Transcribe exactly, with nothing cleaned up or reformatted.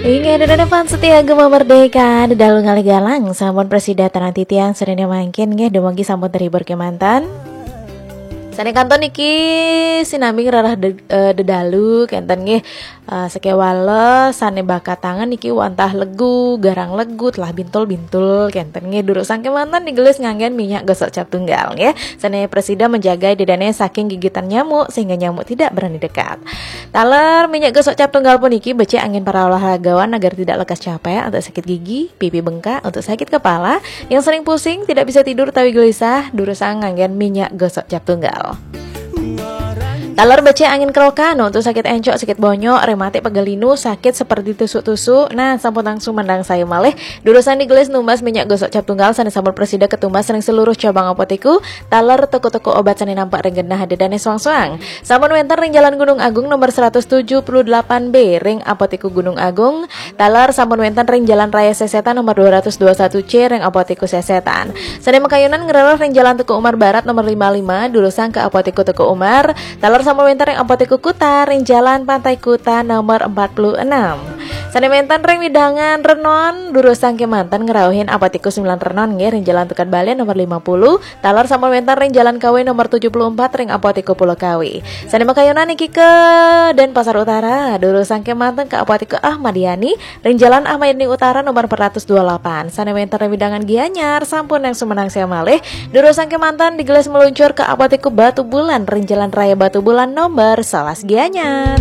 Inggih, dedene fans setia Gema Merdeka, dedalu ngalih galang, sampun prasida tanah titiang sedene mangkin nggih, dumugi sampun terhibur kemanten. Sane kantun niki sinambi ngrereh de-, eh, dedalu kenten nggih. Eh, sekewala sane bakat tangen niki wantah legu, garang legu, telah bintul-bintul kenten nggih. Durusang kemanten digelis nganggen minyak gosok cap tunggal nggih. Sane prasida menjaga dedene saking gigitan nyamuk sehingga nyamuk tidak berani dekat. Taler minyak gosok cap tunggal puniki becik anggen para olahragawan agar tidak lekas capek untuk sakit gigi, pipi bengkak, untuk sakit kepala, yang sering pusing, tidak bisa tidur utawi gelisah, durusang nganggen minyak gosok cap tunggal. Taler becik anggen kerokan untuk sakit encok, sakit bonyok, rematik, pegal linu, sakit seperti tusuk-tusuk. Nah, sampun langsung mandang saya malih. Durusang digelis numbas minyak gosok cap tunggal sane sampun prasida ketumbas ring seluruh cabang apotiku, taler toko-toko obat sane nampak ring genah dedane soang-soang. Sampun wenten ring Jalan Gunung Agung nomor seratus tujuh puluh delapan B ring Apotiku Gunung Agung. Taler sampun wenten ring Jalan Raya Sesetan nomor dua ratus dua satu C ring Apotiku Sesetan. Sane makayunan ngrereh ring Jalan Teuku Umar Barat nomor lima lima, durusang ke Apotiku Teuku Umar. Taler sampun wenten ring Apotiku Kuta ring Jalan Pantai Kuta nomor empat puluh enam. Sane wenten ring wewidangan Renon, durusang kemanten ngrauhin Apotiku Sembilan Renon nggih ring Jalan Tukad Bale nomor lima puluh. Taler sampun wenten ring Jalan Kawe nomor tujuh puluh empat ring Apotiku Pulau Kawe. Sane makayunan niki ke Denpasar Utara, durusang kemanten ke Apotiku Ahmad Yani ring Jalan Ahmad Yani Utara nomor empat ratus dua puluh delapan. Sane wenten ring wewidangan Gianyar, sampun langsung mandang saya malih, durusang kemanten digelis meluncur ke Apotiku Batubulan ring Jalan Raya Batubulan nomor sebelas Gianyar.